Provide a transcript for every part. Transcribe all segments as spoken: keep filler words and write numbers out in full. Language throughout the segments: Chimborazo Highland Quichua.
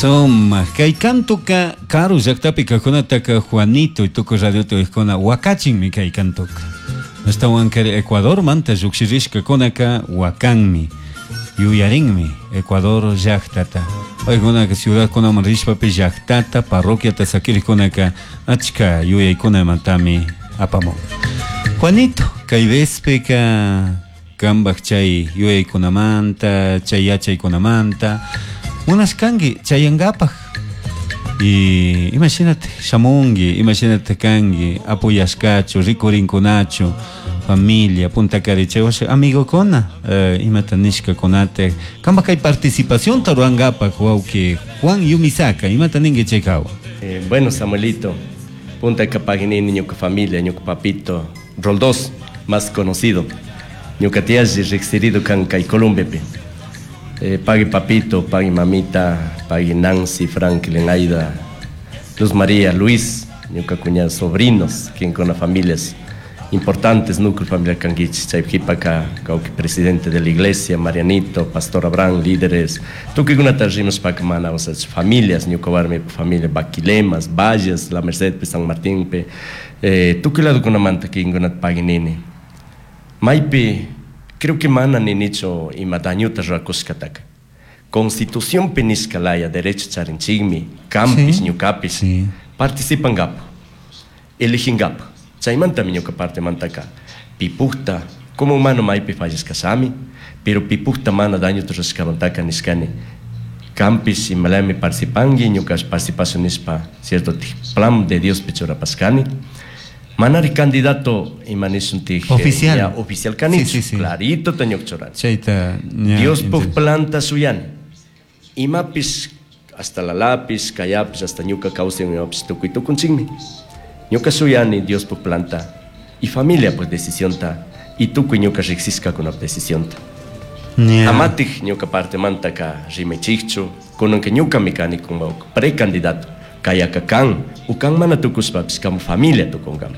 Sumak kay kantuka karu llaktapi kajkunataka Juanito y tukuy radiota uyajkuna wakachinmi kay kantuka. Ashtawankari Ecuadormanta llukshirishkakunaka wakanmi, yuyarinmi Ecuador llaktata. Paykunaka ciudadkunaman rishpapish llaktata, parroquiata sakirikkunaka achka yuyaykunamantami apamun. Juanito, kay vezpika kanpak chay yuyaykunamanta, chay yachaykunamanta munashkanki chayankapak. Y imagínate shamunki, imagínate kanki, apoyashkachu, rikurinkunachu, familia, punta cari, chay amigokuna, eh, imata nishkakunata, kanpak kay participación rurankapak wawki Juan Yumisaka, imata ninki chay hawa. Eh, bueno, Samuelito, punta kapaginini ñuka familia, ñuka papito, Roldós, más conocido, ñuka tía riqsirido kan kay Columbepi. Eh, pagui papito, pagui mamita, pagui Nancy, Franklin, Aida, Luz María, Luis, ñuka cuñado, sobrinos, quien con las familias importantes, núcleo familiar kanguich, chay jipaka, kawki presidente de la iglesia, Marianito, Pastor Abraham, líderes, tukuy kunata rimas paka mana, o sea, familias, ñuka warmi familia Baquilemas, Valles, La Merced, pe San Martín, pe, eh, tukuy lado kunamanta kinkunata paginini. Maypi, creo que mana ninichu ima dañuta rurakushkataka. Constitución pi nishka laya derecho charinchikmi, kampis, Sí. ñukapis, Sí. participangapu, eligingapu. Chaymantami ñuka parte mantaka pipukta, como humano maypi fallashkashami, pero pipukta mana dañuta rurashkamantaka nishkani. Kampis imalami participanki, ñuka participashun nishpa, cierto plan de Dios pichurapashkani. Manari candidato ima nishun tij, Oficial. ya, oficial kanichu, Sí, sí, sí. clarito ta ñuka churani. Chayta, ña, Dios puk entonces. planta suyani. Imapis hasta la lápiz, kayapis, hasta ñuka kawsay imapis tukuy tukunchikmi. Ñuka suyani Dios puk planta y familia pues decisión ta y tukuy ñuka riqsishkakuna decisión ta. Ña. Amatik ñuka parte mantaka rimaychikchu, kunanka ñukami kani como precandidato, kayaka kan, ukan mana tukushpapis como familia tukunkami.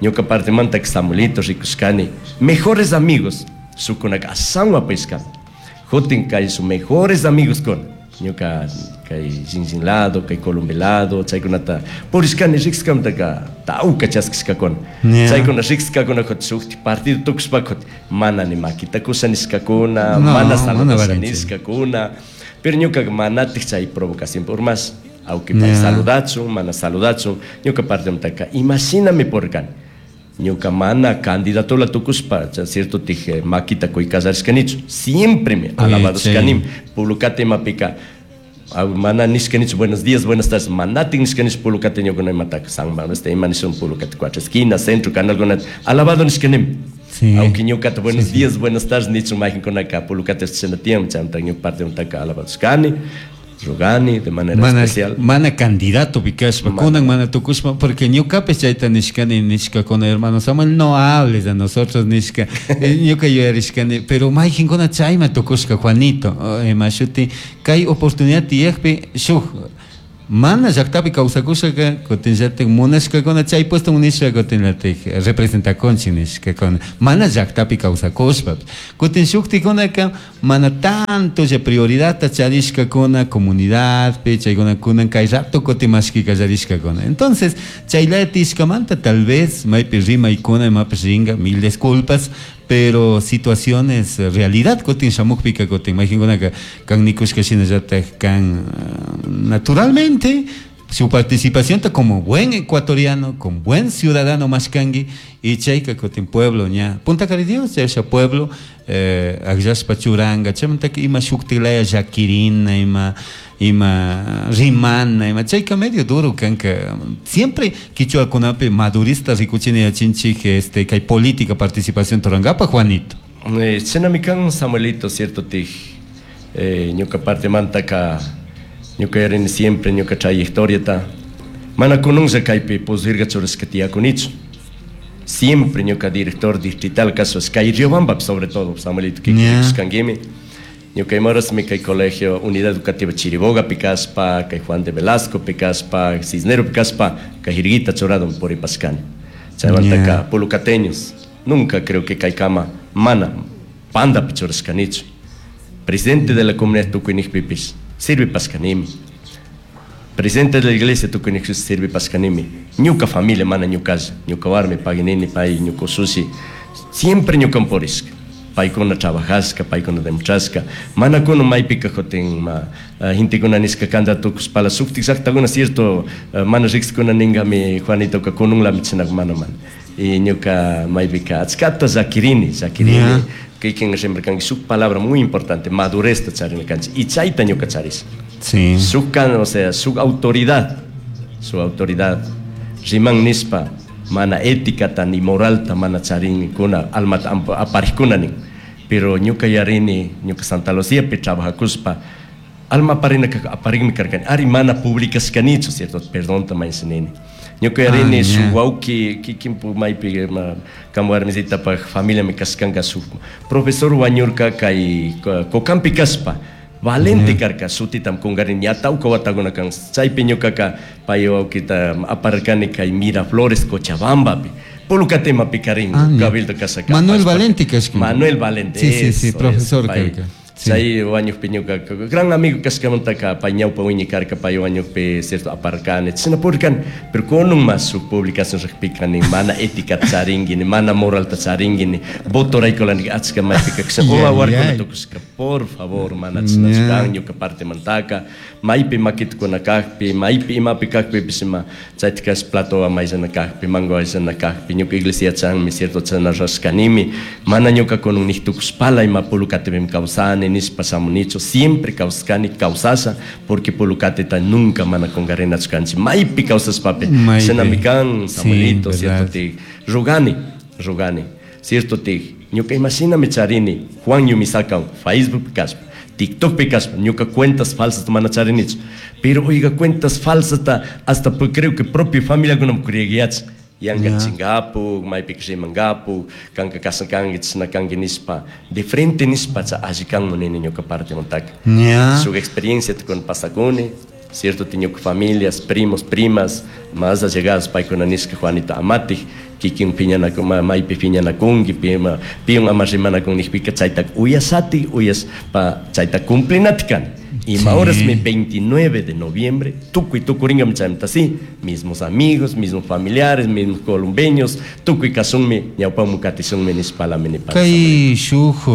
Ñuka parte mantaka Samuelito rikushkani, mejores amigos, sukunaka asanwa pishkami. Jutin kay sus mejores amigos con ñuka kay Jinjin lado, kay Colombia lado, chaykunata purishkani riqskamtaka tawka chaskishkakuna. Yeah. Chaykuna riqskakuna kutin shukti partido tukushpa kutin mana ni makita kusha nishkakuna, No, mana mana saludasha varinchi. nishkakuna. Pero ñuka manatik chay provocación por más, aunque pay Yeah. saludachun, mana saludachun, ñuka parte mtaka imaginame por kan. Ñuka mana candidato la tukushpa, cha cierto tije makita kuy kasarishkanichu, siempre me Oye, alabado chay. shkanim, pulukate mapika. Au, mana nishkanichu, buenos días, buenas tardes, manati nishkanichu pulukate ñuka no imataka, San Manuel, este ima nishun pulukate cuatro esquinas, centro, canal, gunat, alabado nishkanim. Sí. Aunque ñuka buenos Sí, sí. días, buenas tardes, nichu mahin konaka, pulukate chena tiempo, chamta ñuka parte mtaka alabado shkani, rogani de manera Mana, especial. mana candidato pikashpa, Mana. kunan mana tukushpa, porque ñukapish chayta nishkani, nishka con hermano Samuel, no hables a nosotros nishka, eh, ñuka yuyarishkani, pero mayqinkuna chayma tukushka Juanito, oh, eh, mashuti, kay oportunidad tiyakpi shuk mana llaktapi kawsakushaka, kutinllatik munashkakuna chay puesto nishka kutinllatik representakunchik nishkakuna, mana llaktapi kawsakushpa, kutin shuktikunaka mana tanto ya prioridadta charishkakuna comunidadpi, chaykuna kunan kay rato kutin mashki kallarishkakuna. Entonces, chaylaya tishkamanta tal vez maypi rimaykuna imapish ringa, mil disculpas, pero situaciones, realidad kutin shamukpika kutin mayqinkunaka kan nikushka shinallatak kan, eh, naturalmente su participación ta como buen ecuatoriano, como buen ciudadano mashkangi, y chayka kutin pueblo ña, Punta Cari Dios, chayasha pueblo, eh, akllashpa churanga, chaymantaka ima shuktilaya llakirina, ima, ima rimana, ima chayka medio duro kanka. Siempre quichuakunapi madurista rikuchini yachinchik, este, kay política participación turangapa, Juanito. Eh, chinami kan Samuelito, cierto tij, eh, ñuka parte mantaka, ñuka yarini siempre ñuka trayectoria ta, mana kununlla kaypi puzirga churashka tiyakunichu. Siempre ñuka director distrital caso es kay Riobamba, sobre todo, Samuelito, que Yeah. kishkanguimi. Ñuka imarasmi kay colegio Unidad Educativa Chiriboga pikaspa, kay Juan de Velasco pikaspa, Cisnero pikaspa, kay Jirguita churado puripashkani. Chaymantaka Yeah. pulucateños, nunca creo que kay kama mana panda pichurashkanichu. Presidente de la comunidad tukuy nijpipis, sirve paskanimi. Presidente de la iglesia tukuni sirvipashkanimi. Ñuka familia mana ñukalla, ñuka warmi paginini pay ñuka usushi siempre ñukan purishka. Paykuna trabajashka, paykuna demostrashka. Mana kunan maypika kutin ma gentekuna nishka kanta tukushpala shuktik llaktakuna cierto mana riqsikuna ninkami Juanitoka kununlami chashna mana mana. Y ñuka maypika achkata llakirini, llakirini. Kikin rimarkanki shuk palabra muy importante, madurezta charina kanchik y chayta ñuka charisha. Sí. Shuk kan, o sea, shuk autoridad, su autoridad riman nishpa mana éticata ni moralta mana charinkuna almata aparijkuna nin. Pero ñuka yarini, ñuka Santa Lucía pi trabajakushpa alma aparina aparikmi karkani, ari mana publicashkanichu, cierto, perdonta mañasha. Ñuka yarini shuk wawki kikinpu maypi kan warmisitapaj familiami kashkanka shuk profesor wañurka kay Cocampi kashpa valente karka shutitam kungarini ña tawka watakuna kan chaypi ñukaka pay wawkita aparkani kay Miraflores Cochabambapi Pulcatemapi karin cabildo kashaka Manuel Valente kashka Manuel Valente. Sí, sí, sí, profesor karka. Chay wañukpi ñuka gran amigo kashkamantaka pay ñawpa wiñay karka pay wañukpi cierto aparkani chashna purirkani pero kunun mas shuk publicación riqpika nin mana ética charinki ni mana moralta charinki ni votoraykulani achka maypika kasha warkuna tukushka por favor mana chashnachu kan ñuka partemantaka maypi makitukuna kakpi maypi imapi kakpipish ima chaytikash platowan mayllana kakpi mango ayllana kakpi ñuka iglesia chanmi cierto chashna rurashkanimi mana ñuka kunun nik tukushpala ima Pulukatipimi kawsani nishpa shamunichu siempre kawsakani kawsasha porque Pulukatita nunca mana kungarinachu kanchik maypi kawsashpapi shinami kan Samuelito cierto tik rugani rugani cierto tik ñuka imashinami charini Juan Yumisaka Facebook kashpa TikTokpi kashpa ñuka cuentas falsas mana charinichu pero oiga cuentas falsas hasta creo que propio familiakunami creyeguiyachi yanka chinkapuk maypika rimankapuk kanka kashan kanki chashna kanki nishpa de frente nishpa alli kanman nini ñuka partemantaka shuk experiencia tukun pasakuni cierto ñuka familias primos primas más allegados paykuna nishka Juanito amatik kikin piñanakun maypi piñanakunki pima piwan ama rimanakun nikpika chayta uyashatik uyashpa chayta cumplinatik kani ima horasmi veintinueve de noviembre tukuy tukurinka chaymanta sí mismos amigos mismos familiares mismos colombeños tukuy kashunmi ñawpaman katishunmi nishpalami nipani. Kay shuk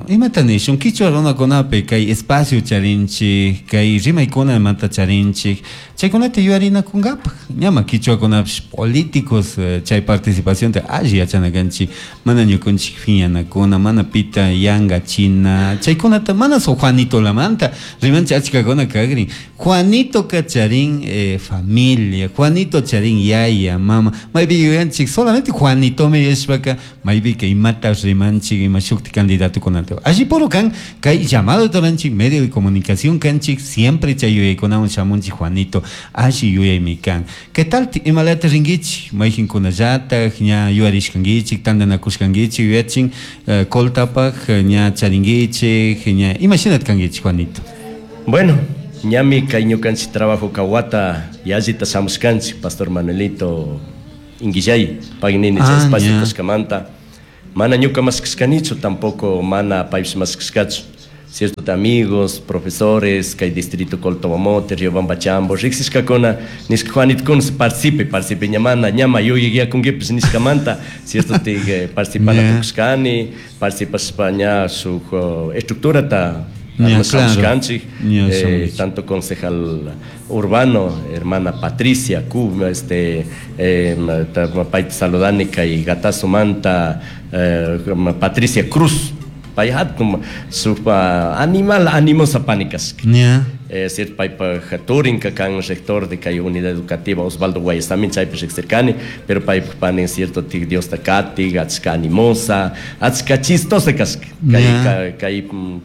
imata nishun kichwa runakunapi kay espacio charinchik kay rimaykunamanta charinchik chaykunata yuyarinakunkapaj ñama kichwakunapish políticos chay participacionta alli yachana kanchik mana ñukunchik phiñanakuna mana pita yankachina chaykunata mana so Juanitolamanta rimanchik achkakuna kakrin Juanito charin eh, familia Juanito charin yaya mama maypi yuyanchik solamente Juanitomi yashpaka maypika imata rimanchik ima shukti candidatokunata alli puro kan kay llamado taranchik medio de comunicación kanchik siempre chay yuyaykunawan shamunchik Juanito alli yuyaymi kan ¿Qué tal imalata rinkichik mayqinkunallataj ña yuyarishkankichik tantanakushkankichik yuyachin eh, Coltapaj ña charinkichik ña imashinata kankichik Juanito? Bueno, ñami kay ñukanchik trabajo kawata yallita shamushkanchik Pastor Manuelito Inguillay paynini chay espacio kashkamanta mana ñuka mashkashkanichu tampoco mana paypish mashkashkachu cierto amigos, profesores, kay distrito Coltobamote, Riobamba Chambo, riqsishkakuna nishka Juanito kun participe, participe ñamana, ñama yuyayyakunkipish nishkamanta, cierto tik participana tukushkani, participashpa ña shuk estructurata armashkanchik, eh, tanto concejal urbano, hermana Patricia Cub, este, eh, payta saludani kay Gatazo manta, eh, Patricia Cruz, pay hatun supa animal animosa pani kashka. Eh, cierto paypaj turinka kan rector de kay unidad educativa Osvaldo Guayas también chaypi riqsirkani pero paypaj pani cierto tik Diosta katik achka animosa achka chistosa kashka kay kay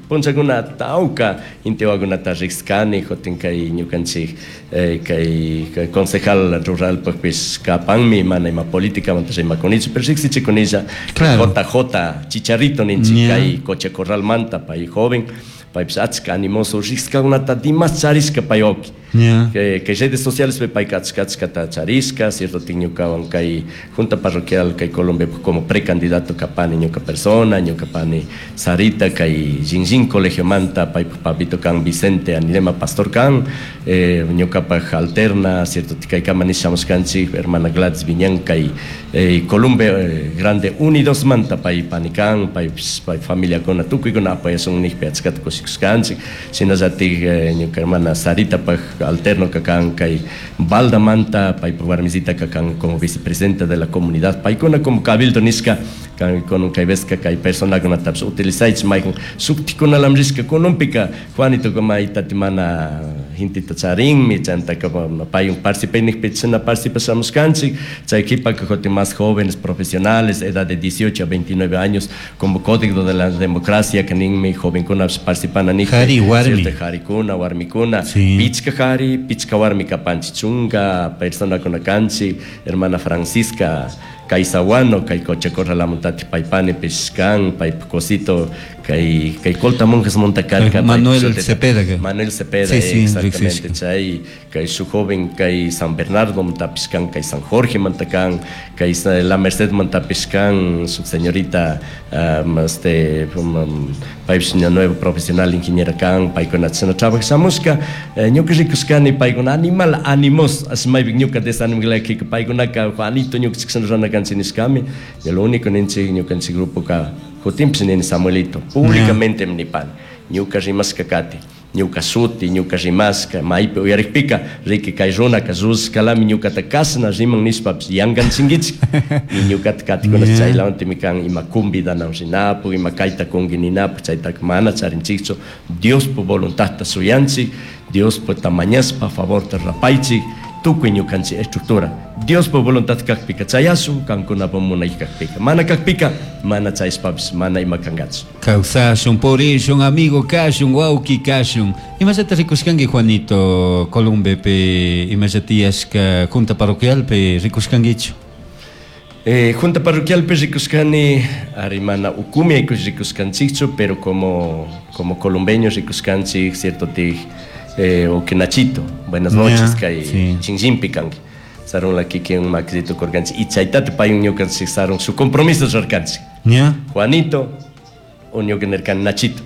punchakuna tawka intiwakunata riqskani kutin kay ñukanchik eh, kay concejal rural pajpish kapanmi mana ima políticamanta rimakunichu pero riqsichikunilla J J Chicharrito ninchik kay Coche Corral manta pay joven paypish achka animoso riqskakunata dimas charishka pay wawki Yeah. Que, que redes sociales pe payka achka achkata charishka, cierto tik ñukawan kay junta parroquial kay Colombia como precandidato kapani ñuka persona, ñuka pani Sarita kay Jinjin colegio manta, pay papito kan Vicente Anilema pastor kan, eh, ñukapaj alterna, cierto kay kama nishamushkanchik hermana Gladys Viñan kay eh, Colombia eh, Grande Unidos manta pay pani kan, pay, pay familia kuna tukuykuna apoyasun nijpi achkata kushikushkanchik, shinallatik eh, ñuka hermana Sarita paj alterno kakan kay Balda manta paypa warmisita kakan como vicepresidenta de la comunidad paykuna como cabildo nishka kan con kay vesca kay personakunatapish utilizaychik maykan shuktikunalami rishka kununpika Juanito maytati mana genteta charinmi chantaka paywan participay nijpi chashna participashamushkanchik chay qhipaka kutin más jóvenes profesionales edad de dieciocho a veintinueve años como código de la democracia kaninmi jovenkunapish participana nijpi Jari warmi. Cierto, jarikuna warmikuna Sí. pichka jari pichka warmi kapanchik chunka personakuna kanchik hermana Francisca Kaisahuano kay Cochacorralamuntati paypanipish kan paypa cosito kay kay Colta Monjes montakarka Manuel Cepeda que- Manuel Cepeda Sí, sí, exactamente riqsishka. chay kay su joven kay San Bernardo montapish kan kay San Jorge mantakan kay La Merced montapish kan su señorita um, este um, paypish ña nuevo profesional ingeniera kan paykuna chashna trabajashamushka eh, ñuka rikushkani paykuna animal animos asmaypik ñuka desanimglakika paykunaka Juanito ñuka chikshana rurana kanchik nishkami y lo único ninchik ñukanchik grupoka kutinpish nini Samuelito públicamente nipani ñuka rimashka kati ñuka shuti ñuka rimashka maypi uyarikpika riki kay runaka rushkalami ñukata kashna riman nishpapish yankanchinkichik y ñukata katikuna Yeah. chaylawantimi kan ima convidanawan rinapuk ima kayta kunki ninapuk chaytaka mana charinchikchu Diospa voluntadta shuyanchik Diospa mañashpa favorta rapaychik tukuy ñukanchik estructura Diospa voluntad kakpika chayashun kankunapa munay kakpika mana kakpika mana chayashpapish mana ima kankachu. Kawsashun, purishun, amigo kashun, wawki kashun. Imallata rikushkanki Juanito Columbepi, imallata tiyashka junta parroquialpi rikushkankichu? Eh, junta parroquialpi rikushkani ari mana ukumi aykush rikushkanchikchu pero como como colombeños rikushkanchik cierto tik eh, o que Nachito buenas noches Ya, kay sí. Chinchimpi kanki sarun la kikin makisito kurkanchik y chaytata paywan ñukanchik sarun su compromiso rurarkanchik ¿Ya? Juanito o ñuka nirkani Nachito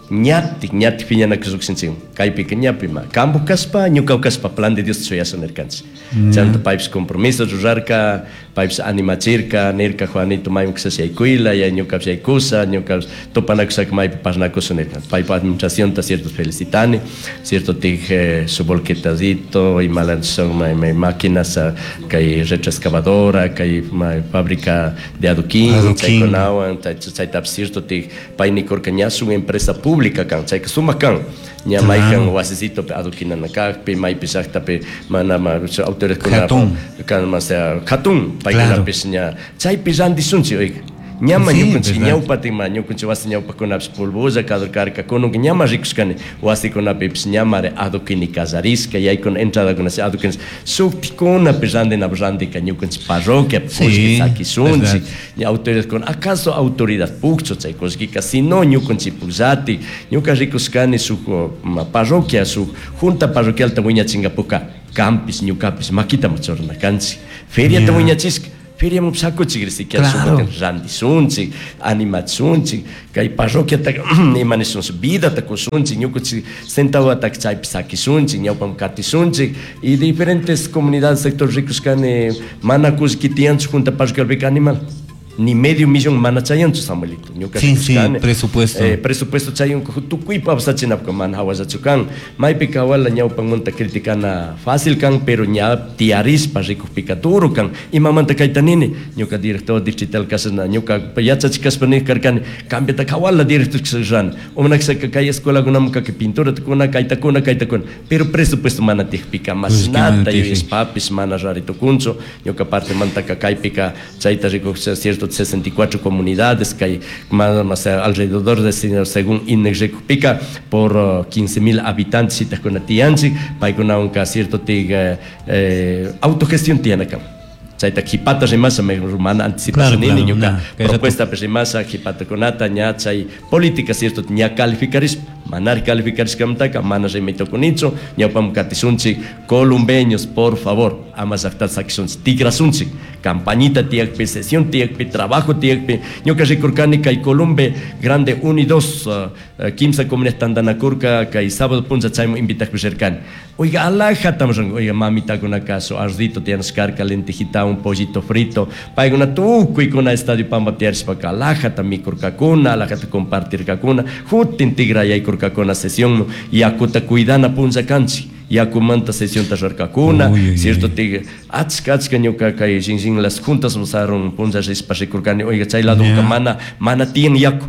ñatik ñatik piñanakush llukshinchik kaypika ñapi ma kampu kashpa ñuka kashpa plan de Dios shuyasha nirkanchik chanta paypish compromiso rurarka paypish animachirka nirka Juanito mayman kashash yaykuyla ya ñukapish yaykusha ñukapish tupanakushaka maypi parlanakusha nirka paypa administracionta cierto felicitani cierto tik eh, su volquetadito imala son may, may máquinas ah, kay retroexcavadora kay may fábrica de adoquín Adoquín. chaykunawan chaytapish cierto tik pay nikurka ña shuk empresa pública kan chayka sumak kan ña maykan wasisitopi adoquinana kakpi maypi llaktapi mana ma autoridadkuna Hatun. kan ma sea hatun paykunapish ña chaypi rantishunchik oiga ñama Sí, ñukanchik verdad. ñawpatik ma ñukanchik wasi ñawpakunapish polvolla karka kunanka ñama rikushkani wasikunapipish ñamari adoquini kallarishka yaykuna entradakuna adoquines shuktikunapi rantinapi rantika ñukanchik parroquiapi Sí, kullki sakishunchik verdad. ña autoridadkuna acaso autoridad pukchu chay kullkika sino ñukanchik pukllatik ñuka rikushkani shuk ma, parroquia shuk junta parroquialta wiñachinkapuka kanpish ñukapish makita churana kanchik feriata Ya. wiñachishka feriaman sakuchik siquiera Claro. shukutin rantishunchik animachunchik kay parroquiata ima nishunchik vidata kushunchik ñukanchik centavotaka chaypi sakishunchik ñawpaman katishunchik y diferentes comunidades sector rikushkani mana kullki tiyanchu junta parroquialpika animal ni medio millón mana chayanchu Samuelito ñuka Sí, sí, rikushkani. presupuesto. Eh, presupuesto chayan tukuypa awsachinapka mana hawallachu kan maypika wala ñawpanmanta criticana fácil kan pero ña tiyarishpa rikukpika duro kan imamanta kayta nini ñuka director distrital kashana ñuka yachachik kashpa nik karkani cambiata hawala director rana umanakshaka kay escuelakunaman kaka pinturata kuna kayta kuna kayta kuna pero presupuesto mana tiyakpika mashnata tiyakpi. yuyashpapish mana rari tukunchu ñuka partemantaka kaypika chayta rikuk cierto sesenta y cuatro comunidades que hay más, más alrededor de según INEC rikukpika por uh, quince mil habitantes itakuna tiyanchik paykunawanka cierto tig eh, eh, autogestión tiyana kan. Chayta qhipata rimasha mana anticipasha nini ñuka propuesta rimasha qhipatakunata ña chay política cierto ña calificarishpa manari calificarishkamantaka mana rimay tukunichu ñawpaman katishunchik columbeños por favor ama llaqtata sakishunchik tikrasunchik campañita tiyakpi sesión tiyakpi trabajo tiyakpi ñuka rikurkani kay Columbe Grande uno y dos uh, kimsa comunidad tantanakurka kay sábado puncha chayman invitakpi rirkani oiga alajata oiga mamitakunaka su arrocito tiyanashkarka lentejita un pollito frito paykuna tukuykuna estadio Pampa tiyarishpaka alajata mikurkakuna alajata compartirkakuna jutin tigrayaykurkakuna sesión yakuta cuidana puncha kanchik yakumanta sesionta rurarkakuna cierto tig achka achka ñuka kay shin las juntas usaron puncha rishpa rikurkani oiga chay ladoka mana mana tiyan yaku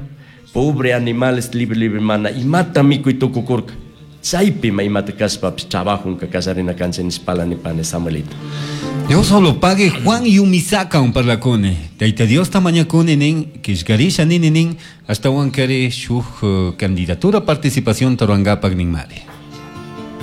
pobre animales libre libre mana imata mikuy tukukurka chaypi ma imata kashpapish trabajunka kallarina kanchik nishpala nipani Samuelito. Dios solo pague Juan Yumisaka un parlacune. Taita Dios tamañacune nin, kishgarisha nini nin, hasta Juan kere shuj candidatura participación taruangapak nin mari.